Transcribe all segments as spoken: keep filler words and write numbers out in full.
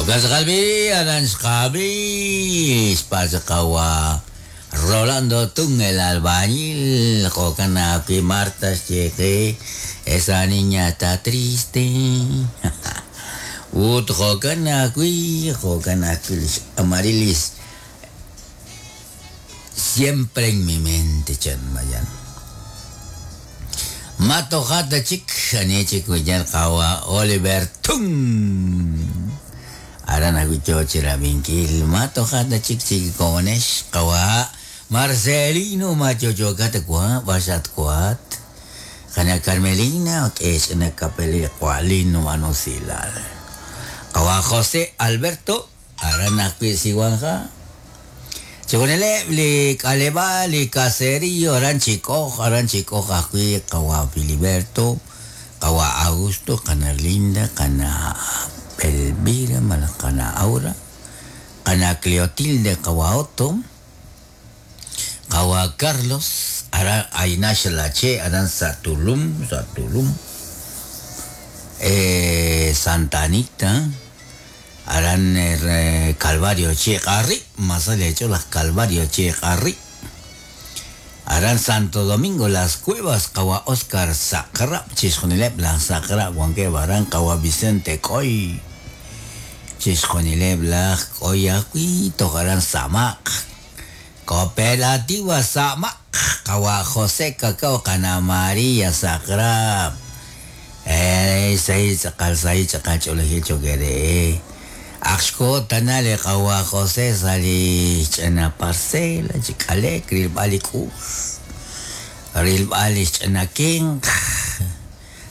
Jokas qalbi aran xqabi xpachqawa Rolando Tun el albañil jokan akwi Marta xyeqe esa niña está triste. Ut jokan akwi jokan akwi Amarilis siempre en mi mente chan mayan. Mato jata chik ani chik wiñar qawa Oliver Tun. Aran akwi chochira binkil mato jata chik chik konesh qawa Marcelino macho chokata kwa basat kwat. Kana Carmelina es na kapeli kwalino manusilal. Qawa José Alberto aran akwi siwanja. Chikonele li kaleba li caserillo aran chico aran chico akwi qawa Filiberto qawa Augusto kana Linda kana Elvira kana Aura kana Cleotilde qawa Otto qawa Carlos ara Ainash Lache aran Satulum Satulum eh, Santa Anita aran eh, Calvario Che Qarri más allá hecho las Calvario Che Qarri aran Santo Domingo Las Cuevas qawa Oscar Sacra Chisjonileb la Sacra Juanque Baran qawa Vicente Coy Chisjonileb la Coy akwi togaran Samak Cooperativa Samak qawa José Cacao kana María Sacra eh say chaqal say chaqal ch'olejil chokere Axko tanale qawa José sali ch'ana parcela chik'alek rilb'al ik'uj rilb'al ch'ana kinq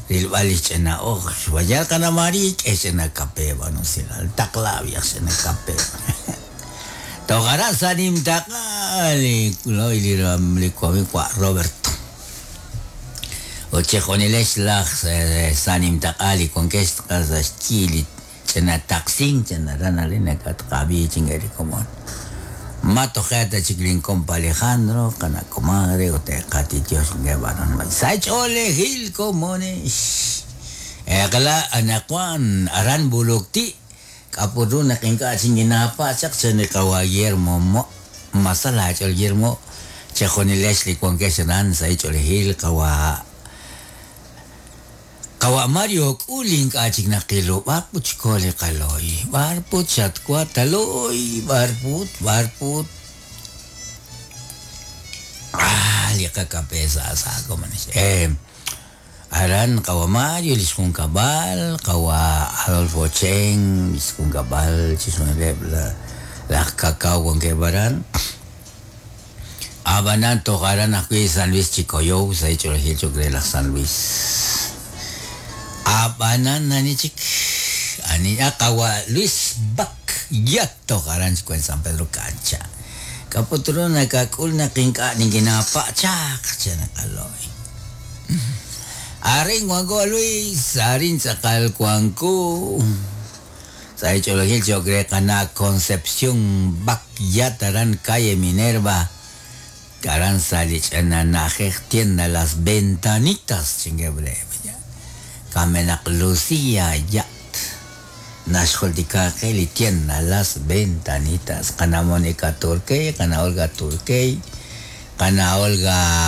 rilb'al ch'ana oj wayar kana María ch'ana kape bueno silal taqlabiaq ch'ana kape Togara sanim taqali loy liram likwami kwa Roberto Ochejonilesh laj sanim taqali con que chili chana taxin chana rana lina katqabi chingeri komon Mato jata chiklin compa Alejandro kana comadre o te qati Dios ngebaron sach ole gil comones Ekla anakuan aran bulukti kapuruna kinka chinginapa chak chani kawa Guillermo mo masala chol Guillermo chejonilesh li con que sanan sa chol gil kawa Kawa Mario kuling kachik na kilo barput chkole kaloy barput chatkwa taloy barput barput ah liqa kapesa sa komanis eh aran kawa Mario liskun kabal kawa Adolfo Chen liskun kabal chisonele la la cacao con que baran abanan togaran akwi San Luis Chicoyo sa hecho el chocre la San Luis Abanan ani chik ani akawa Luis Bak yato karan en San Pedro Cancha kaputro nakakul na kinka ni ginapa chak chana kaloy aring wango Luis arin sakal kuangku sa hecho lo chocre kana Concepción Bak yataran calle Minerva karan salich ananaje tienda las ventanitas chingebre Kamenak Lucía Yat Nashkoltikake li tienda las ventanitas. Kana Mónica Turquey, kana Olga Turquey, kana Olga